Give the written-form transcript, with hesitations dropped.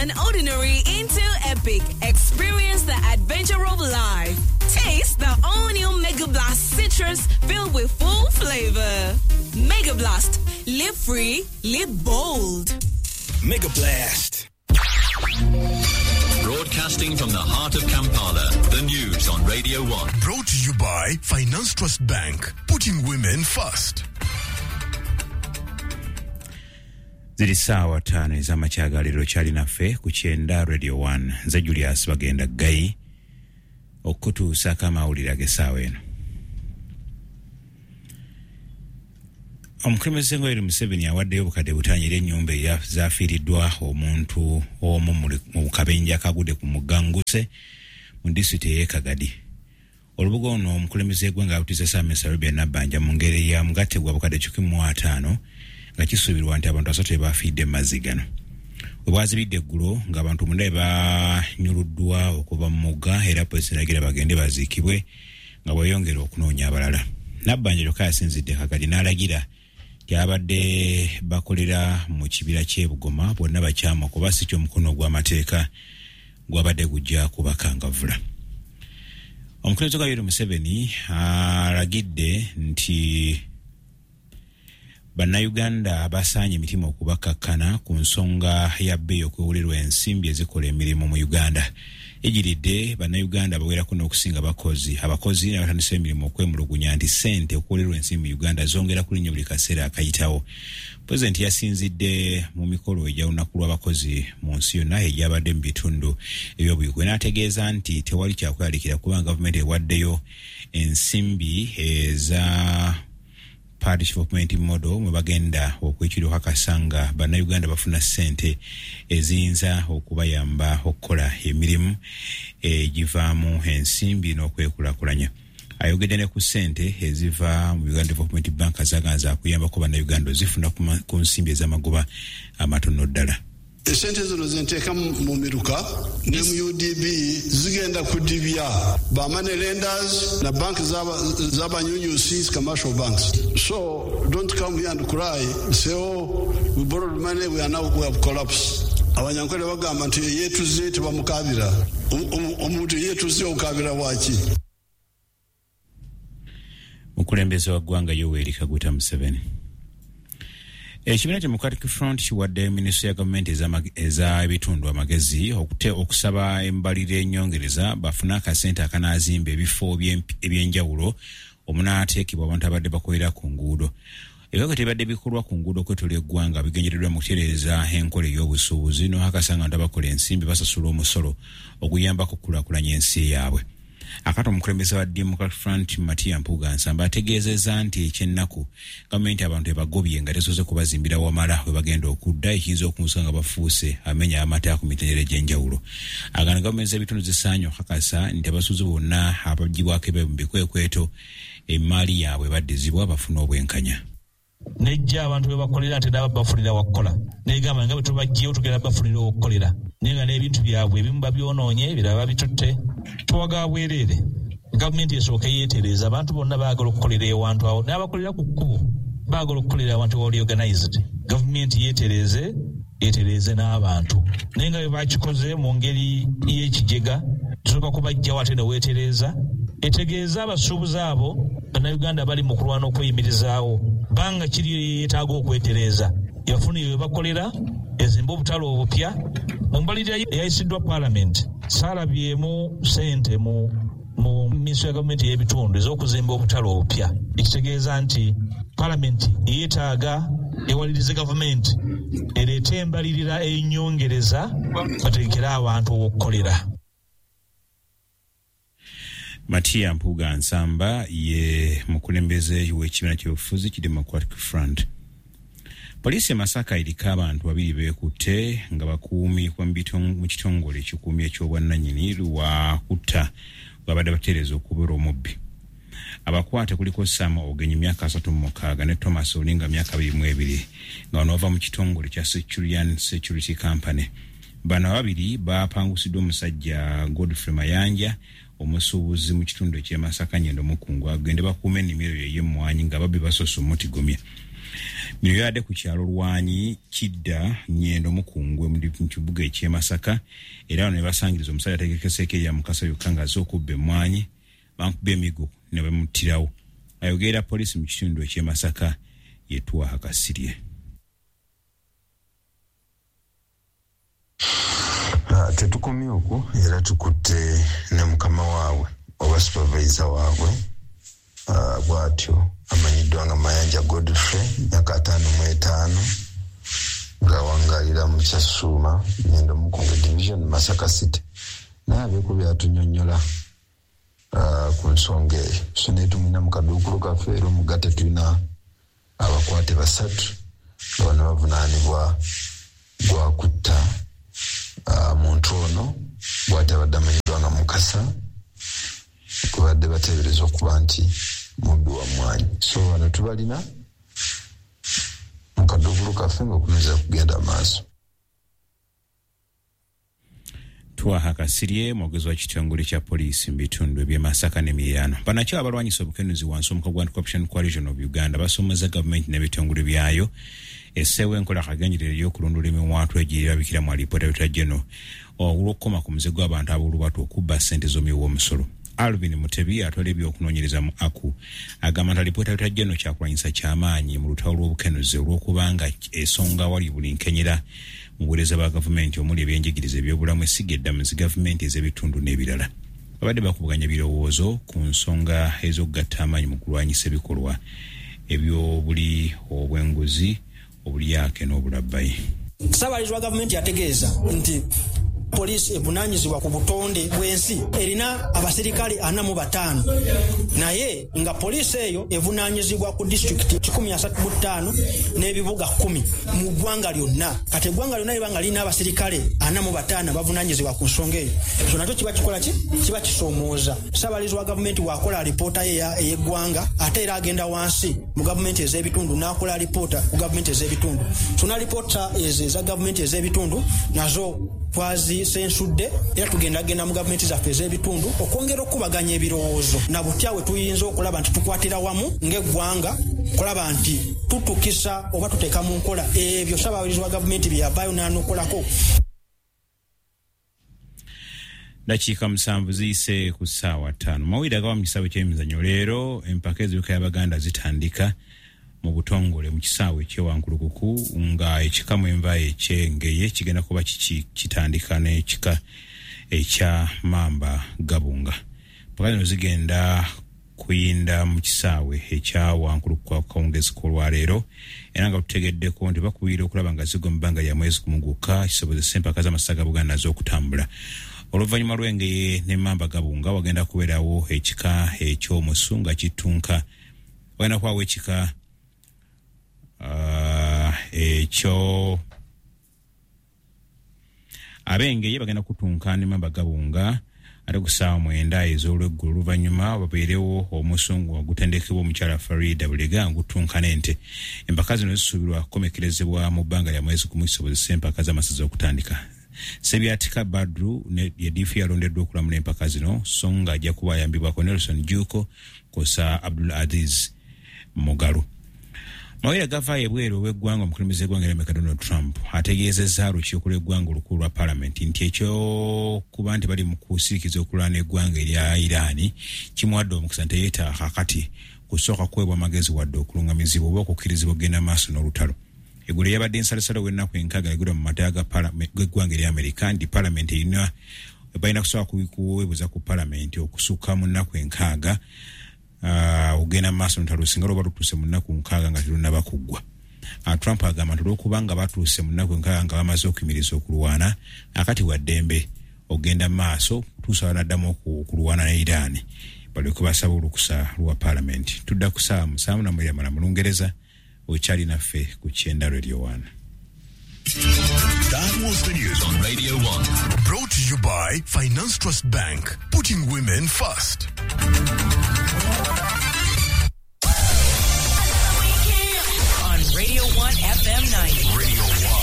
Turn ordinary into epic. Experience the adventure of life. Taste the all-new Mega Blast Citrus filled with full flavor. Mega Blast. Live free, live bold. Mega Blast. Broadcasting from the heart of Kampala, the news on Radio 1. Brought to you by Finance Trust Bank, putting women first. Ziri ssaawa ttaano ez'amakya ga leero kyali naffe ku kyenda Radio 1. Nze Julius Bagenda Ggayi okukutuusaako amawulire ag'essaawa eno. Omukulembeze Yoweri Museveni awaddeyo obukadde butaano eri ennyumba zafiiriddwa omuntu omu mu kabenje akagudde ku mugga Nguse mu disitulikiti ey'e Kagadi. Olubuga ono omukulembeze w'eggwanga alutiisa Ssaabaminisita Robert Nabbanja mu ngeri ya mugatte gwa bukadde 150 nga kisuubirwa nti abantu 3 bafiiridde mu mazzi gano. We bwazibidde eggulo ng'abantu 9 banyuluddwa okuva mu mugga era poliisi eragira bagende baziikibwe nga bweyongera okunoonya abalala. Nabbanja kyokka yasinzidde Kagadi n'alagira nti abadde bakolera mu kibira ky'e Bugoma bonna bakyamu kuba si ky'omukono gw'amateeka gwabadde gujja kubakangavvula. Omukulembeze wa Yoweri Museveni alagidde nti Bannayuganda basaanye emitima okubakkakkana ku nsonga ya bbeeyi okwewulirwa ensimbi ezikola emirimu mu Uganda. Ejiridde Bannayuganda bawerako n'okusinga abakozi n'abatandisa emirimu okwemulugunya nti ssente okuwulirwa ensimbi mu Uganda zongera kulinnya buli kaseera akayitawo. Pulezidenti yasinzidde mu mikolo egy'olunaku lw'abakozi mu nsi yonna egyabadde mu bitundu eby'obuyigwe n'ategeeza nti tewali kyakweraliikirira kubanga gavumenti ewaddeyo ensimbi eza Parish Development Model mwe bagenda okwekira okukakasa nga Bannayuganda bafuna ssente eziyinza okubayamba okukola emirimu egivaamu ensimbi n'okwekulaakulanya. Ayogedde ne ku ssente eziva mu Uganda Development Bank zaganza akuyambako Bannayuganda ozifuna ku nsimbi ez'amagoba amatono ddala. Esente zino zenteeka mu miruka ne mu UDB zigenda kudibya ba money lenders na bank z'abanyunyusi, commercial banks. So don't come here and cry, say, oh, we borrowed money, we are now, we have collapsed. Abanyankole bagamba nti yeetuze tebamukabira. Omuntu yeetuze okabira waki? Mukulembeze wa ggwanga Yoweri Kaguta Museveni. Ekibiina Democratic Front kiwadde minisitule ya gavumenti ez'ebitundu amagezi okusaba embalirira ennyongereza bafune akasente akanaazimba ebifo ebyenjawulo omunaateekebwa abantu abadde bakolera ku nguudo. Ebikolwa tebadde bikolwa ku nguudo okwetooloola eggwanga bigendereddwa mu kutereeza enkola ey'obusuubuzi n'okakasa nga abantu abakola ensimbi basasula omusolo oguyambako okukulaakulanya ensi yaabwe. Akati omukulembeze wa Democratic Front Matia Mpuuga Nsamba ategeezezza nti ekyennaku gavumenti abantu ebagobye nga tesoose kubazimbira wamala we bagenda okudda ekiyinza okunsa nga bafuuse amenya amateeka ku mitendera egy'enjawulo. Agamba gavumenti z'ebitundu zisaanye okukakasa nti abasuubuzi bonna abaggyibwako ebweru mu bikwekweto emmaali yaabwe baddizibwa bafune obwenkanya. Nejja abantu be bakolera nti nabo bafunira wakukola negamba nga bwe tubaggyeyo tugenda bafunira okukolera naye nga n'ebintu byabwe ebimu babyonoonye ebirala babitutte tuwaga bwereere. Gavumenti esooke yeetereeza abantu bonna baagala okukolera ewantu awo n'abakolera ku kkubo baagala okukolera awantu awali organized. Gavumenti yeetereeze etereeze n'abantu naye nga bwe bakikoze mu ngeri y'ekijega tusooka kubaggyawo ate ne weetereeza etegeeza abasuubuzi abo Bannayuganda bali mu kulwana okweyimirizaawo banga kiri yeetaaga okwetereeza yafunire we bakolera ezimba obutale obupya. Mu mbalirira eyayisiddwa Paalamenti saalabyemu ssente mu minisitule ya gavumenti ey'ebitundu ez'okuzimba obutale obupya, ekitegeeza nti Paalamenti yeetaaga ewalirize gavumenti ereete embalirira ennyongereza bategekere abantu okukolera. Matia Mpuuga Nsamba ye mukulembeze w'ekibiina ky'obufuzi ki Democratic Front. Poliisi e Masaka eriko abantu babiri beekutte nga bakuumi mu kitongole ekikuumi eky'obwannannyini lwa kutta babadde batereeza okubera omubbi. Abakwate kuliko Sam Ogenyi myaka 36 ne Thomas Olinga myaka 22 nga bano bava mu kitongole kya Securian Security Company. Bano ababiri bapangusiddwa omusajja Godfrey Mayanja omusuubuzi mu kitundu eky'e Masaka Nyendo Mukungu agende bakuume ennimiro ye ey'emmwanyi nga babbi basoose omutigomya. Bino byabadde ku kyalo Lwanyi Kidda Nyendo Mukungwe mu kibuga eky'e Masaka, era wano ne basangiriza omusajja ategekeseeko erya Mukasa yokka ng'azze okubba emmwanyi, bamukuba emiggo ne bamuttirawo. Ayogerera poliisi mu kitundu eky'e Masaka ye Twaha Kasirye. Tetukomye okwo, era tukutte ne mukama waabwe oba supervisor waabwe, bw'atyo amanyiddwa nga Mayanja Godfrey, myaka 55, ng'awangalira mu Kyasuuma Nyendo Mukunge Division, Masaka City. Naye abeeko byatunyonnyola ku nsonga eyo. So naye tumulina mu kaduukulu kaffe, era omugatte tulina abakwate 3 nga bano bavunaanibwa gwa kutta muntu ono bw'ati abadde amanyiddwa nga Mukasa, kubadde bateebereza okuba nti mubbi wa mmwanyi. So bano tubalina mu kaduukulu kaffe ng'okunoonyereza kugenda maaso. Twaha Kasirye, mwogezi wa kitongole kya poliisi mu bitundu eby'e Masaka n'emiriraano. Bannakyewa abalwanyisa obukenuzi wansi w'omukago gwa Anti-Corruption Coalition of Uganda basomeza gavumenti n'ebitongole byayo esseewo enkola akagenderere ey'okulondoola emiwaatwa egirabikira mu alipoota ya General olw'okukoma ku muze gw'abantu ab'olubatu okubba ssente z'omuwi w'omusolo. Alvin Mutebi atwala ebyokunoonyereza mu ACU agamba nti alipoota ya General kyakulwanyisa kyamaanyi mu lutalo lw'obukenuzi olw'okubanga esonga awali buli nkenyera mu buweereza bwa gavumenti omuli ebyenjigiriza, ebyobulamu, essiga eddamuzi, gavumenti ez'ebitundu n'ebirala. Babadde bakubaganya birowoozo ku nsonga ez'okugatta amaanyi mu kulwanyisa ebikolwa eby'obuli obw'enguzi, obulyake n'obulabbayi. Ssaabalizi wa gavumenti yategeeza nti poliisi evunaanyizibwa ku butonde bw'ensi erina abaserikale 45, naye nga poliisi eyo evunaanyizibwa ku disitulikiti 135 n'ebibuga 10 mu ggwanga lyonna. Kati eggwanga lyonna liba nga lirina abaserikale 45 bavunaanyizibwa ku nsonga eyo, ekyo nakyo kiba kikola ki? Kiba kisoomooza. Ssaabalizi wa gavumenti bw'akola alipoota ye ey'eggwanga, ate era agenda wansi mu gavumenti ez'ebitundu n'akola alipoota ku gavumenti ez'ebitundu. So n'alipoota ezo eza gavumenti ez'ebitundu nazo twazisensudde, era tugendagenda mu gavumenti zaffe ez'ebitundu okwongera okukubaganya ebirowoozo na butya we tuyinza okulaba nti tukwatira wamu ng'eggwanga kulaba nti tutukisa oba tuteeka mu nkola ebyo ssaabalizi wa gavumenti bye yavaayo n'anokolako. Dakiika 7 ziyise ku ssaawa 5. Mawulire agava mu kisaawe ky'emizannyo leero, empaka ez'ebika y'Abaganda zitandika mu butongole mu kisaawe eky'ewankulukuku, nga ekika mwenva eky'Engeye kigenda kuba kitandika n'ekika ekya Mamba Gabunga. Mpaka zino zigenda kuyinda mu kisaawe ekya Wankulukuku akawungezi k'olwaleero, era nga tutegeddeko nti bakubirira okulaba nga zigwa mu bbanga lya mwezi gumu gwokka kisobozesa empaka z'amasaza ga Buganda ez'okutambula. Oluvannyuma lw'Engeye ne Mamba Gabunga wagenda kubeerawo ekika eky'Omusu nga kitunka, wagenda kubawo ekika ekyo Ab'Engeye bagenda kutunka ne Mamba Gabunga ate ku ssaawa 9 ez'olweggulo. Oluvannyuma babeerewo omusungu ogutendekebwa omukyala Farida Bulega ngutunka n'ente. Empaka zino zisuubirwa kukomekerezebwa mu bbanga lya mwezi gumu kisobozesa empaka z'amasaza okutandika. Sebyatika Badru ye diifu yalondeddwa okulamula empaka zino, so nga ajja kuba ayambibwako Nelson Juko kw'ossa Abdul Aziz Mugalu. Mawulire gavaayo ebweru ow'eggwanga, omukulembeze w'eggwanga erya Amerika Donald Trump ategeezezza olukiiko lw'eggwanga olukulu lwa palamenti nti ekyokuba nti bali mu kusirikiza okulwana eggwanga erya Iran kimuwadde omukisa nti teyeetaaga kaakati kusooka kuweebwa magezi wadde okulungamizibwa oba okukkirizibwa okugenda maaso n'olutalo. Eggulo yabadde nsalosalo w'ennaku 6 egulwa mu mateeka g'eggwanga erya Amerika nti palamenti erina balina kusooka kuweebuza ku palamenti okusukka mu nnaku 6 ogenda maaso n'olutalo singa lwoba lutuuse mu nnaku 6 nga terunnaba kuggwa. Trump agamba nti olw'okubanga batuuse mu nnaku 6 nga bamaze okuyimiriza okulwana, akati wa ddembe ogenda maaso tuusa banaddamu okulwana ne Iran balyoke basaba olukusa lwa palamenti. Tudda ku ssaawa 7:30 mu Lungereza, okyali naffe ku Kyenda Radio 1. That was the news on Radio 1. Brought to you by Finance Trust Bank, putting women first.